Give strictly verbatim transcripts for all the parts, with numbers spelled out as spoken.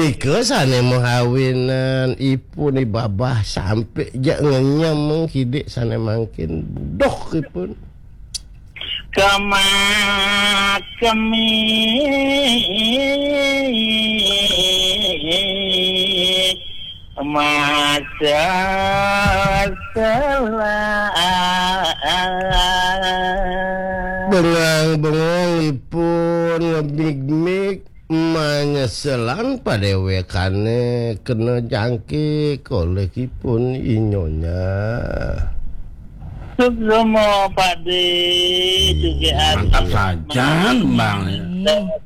Nika sane mahawinan ipun i babah sampe jak ngenyem mengkidik sane mangkin budoh ipun. Kemak kemik masa selah. Bengang bengong ipun ngemig-mig manyeselan padewekane kena jangkik oleh ipun inyonya. Suksma Pak De, hmm, juga mantap saja, Bang.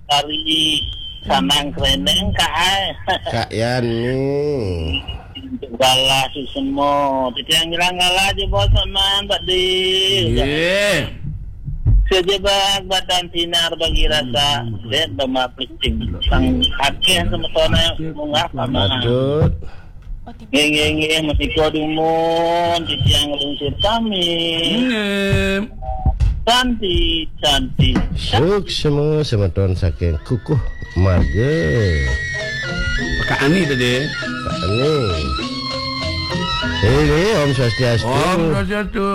Dari Sanang Kreneng, Kak, ai. Kak Yani. Galah suksma. Titiang ngilang galah je bos aman, Pak De. Nggih. Sejebak badan sinar bagi rasa. Hmm. Dek, bama plicing. Sang akeh semetone munggah, Pak Man. Patut. Nggih, nggih, nggih, menika dumun titiang nglungsur pamit. Nggih. Santi, santi. Suksma semeton saking Kukuh Marga. Pak Ani tadi. Pak Ani. Ini Om Swastiastu. Om Swastiastu.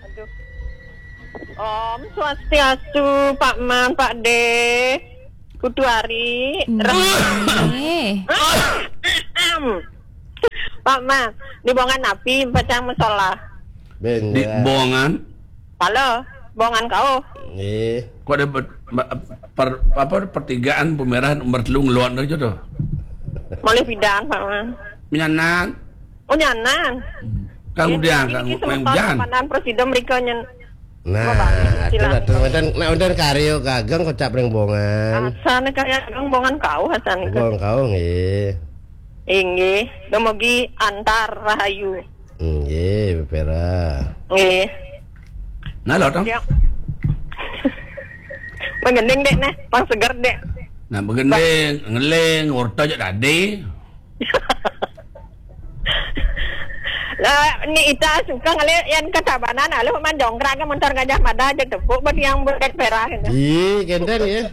Aduh. Om Swastiastu, Pak Man, Pak De. Kutu Ari. Nggih. Pak Man, di bongan api pacang masalah. Di bongan? Halo, bongan kau. Nggih. Kok ada ber-, ber-, per-, apa, pertigaan Pemerahan nomor telu ngeluar aja tuh. Malih pidan, Pak Man. Menyanan. Oh, nyanan. Kang Udian, Kang Udian. Panan presiden mereka nyen. Nah, itu lah, tuh, wonten, nek wonten karya kageng kocap ring bongan. Asane karya kageng bongan kau, asane. Bongan kau, nggih. Inggih, dumugi antar rahayu. Nggih, Vera. Nggih. Nah, lho, Tong. Ya. Menggending, Dek, nah, pang seger, Dek. Nah, menggending, ngeling, urta aja tadi. Lah, ni ita suka ngeliat yang ketabanan, lalu mandongkrak ke motor Gajah Mada aja tepuk, buat yang buat perak gitu. Ih, kenten ya.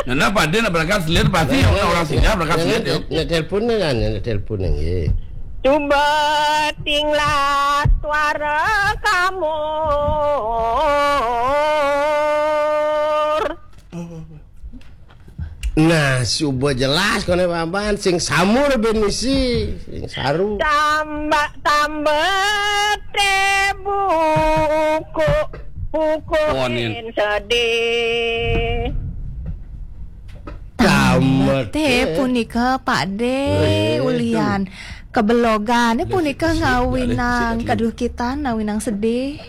Nah, nah, Pak De nak berangkat selir pasti orang, orang singgah berangkat selir ya. Nak telepon ni kan, nak telepon ni. Cuba tinglah suara kamu. Nah, suba jelas kone Paman, sing samur ben misi, sing saru. Tambah, tambah teh buku, buku. Konin. Sedih. Tambah teh punika, Pak De, eh, ulian. Kebelogan, eh, punika ngawinang, kaduh kita, ngawinang sedih.